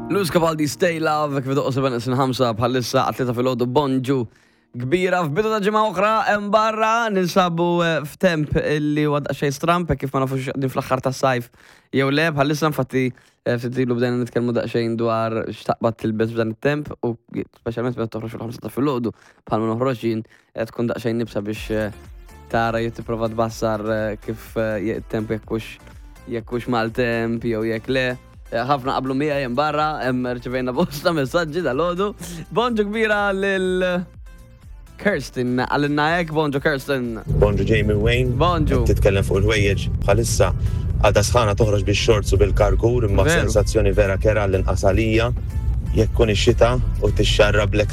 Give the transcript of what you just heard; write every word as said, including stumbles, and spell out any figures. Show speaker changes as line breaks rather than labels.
Luz Cavaldi, Stay Love, kif doqqu seba' neqsin ħamsa bħalissa għat-tlieta filgħodu. Bonġu kbira f'bidu ta' ġimgħa oħra hemm barra. Ninsabu eh, f'temp illi huwa daqsxejn stramp hekk kif ma nafux din fl-aħħar tas-sajf jew le bħalissa. Infatti eh, ftit ilu bdejna nitkellmu daqsxejn dwar x'taqbad tilbes f'dan it-temp u speċjalment meta toħroġ fil-ħamsa ta' filgħodu bħalma noħroġ jien, eh, tkun daqsxejn iebsa biex eh, tara jew tipprova tbassar eh, kif eh, it-temp, jekk hux jekk hux maltemp jew jekk le. Eh, ħafna qablu miegħi hemm barra, hemm rċevejna bosta messaġġi dal-għodu. Bonġu kbira lil Kirsten, għalinna hekk, bonġu Kirsten.
Bonġu Jamie Wayne.
Bonġu.
Qed titkellem fuq il-ħwejjeġ, bħalissa għadha sħana toħroġ bix-shorts u bil-karkur, imma
Veru.
sensazzjoni vera kerha l-inqas għalija jekk kun ix-xita u tixxarra blek.